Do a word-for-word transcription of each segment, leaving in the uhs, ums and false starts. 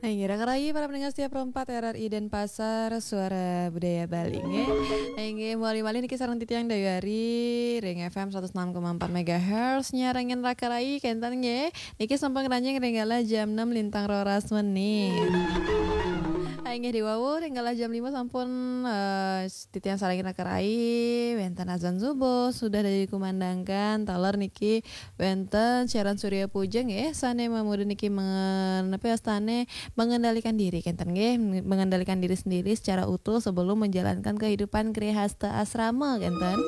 Inggih, raka rayi para pendengar setia Pro empat R R I Denpasar, Suara Budaya Bali, nggih. Inggih, mawali malih niki sareng titiang Dayu Ari ring F M seratus enam koma empat megahertz, nyarengin raka rayi kenten nggih. Niki sampun ngranjing ring galah jam enam lintang roras menit. Inggih, diwawu ring galah jam lima sampun, eh, titiang sarengin raka rayi, wenten azan subuh sudah dikumandangkan, taler niki wenten siaran Surya Puja nggih, sane mamurda niki mengen-, napi wastane, mengendalikan diri kenten nggih, mengendalikan diri sendiri secara utuh sebelum menjalankan kehidupan grihasta asrama kenten.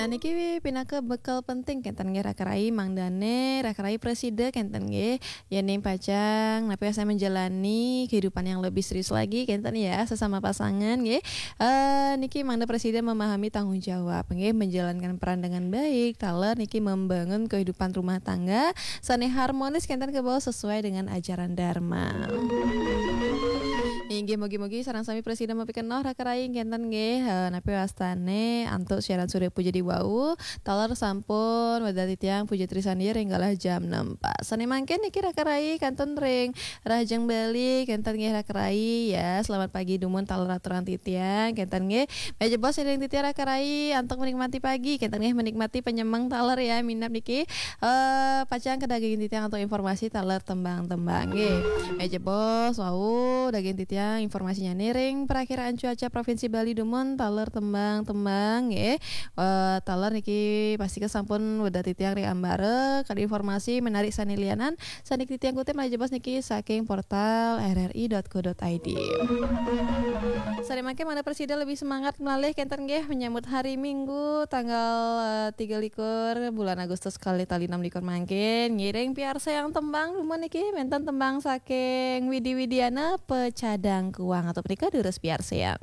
Nah, niki pinaka bekal penting kenten nggih raka rayi, mangdane raka rayi prasida kenten nggih, yening pacang napi wastane menjalani kehidupan yang lebih serius lagi kenten ya, sesama pasangan nggih. Eh, niki mangda prasida memahami tanggung jawab nggih, menjalankan peran dengan baik, taler niki membangun kehidupan rumah tangga sane harmonis kenten, kebawa sesuai dengan ajaran Dharma. Inggih, mugi-mugi sareng sami prasida mapikenoh raka rayi kenten nggih, eh, napi wastane antuk siaran Surya Puja diwau, taler sampun wada titiang Puja Trisandya ring galah jam enam. Sane mangkin niki raka rayi kantun ring Rahajeng Bali kenten nggih raka rayi ya. Selamat pagi dumun taler aturang titiang kenten nggih. Menawi jebos ring titiang raka rayi antuk menikmati pagi kenten nggih, menikmati penyemeng taler ya, minab niki, eh, pacang kadagingin titiang antuk informasi taler tembang-tembang nggih. Menawi jebos wau dagingin titiang informasinyane ring Prakiraan Cuaca Provinsi Bali dumun taler tembang-tembang nggih. Eh, taler niki pastika sampun wada titiang ring ambara kadi informasi menarik sane lianan sane titiang kutip menawi jebos niki saking portal R R I dot co dot I D. Sane mangkin mangda prasida lebih semangat malih kenten nggih menyambut hari Minggu tanggal, eh, tiga likur bulan Agustus kalih tali enam likur mangkin, ngiring piarsayang tembang dumun niki, wenten tembang saking Widi Widiana, Pecadang Kuang, atau punika durus piarsayang.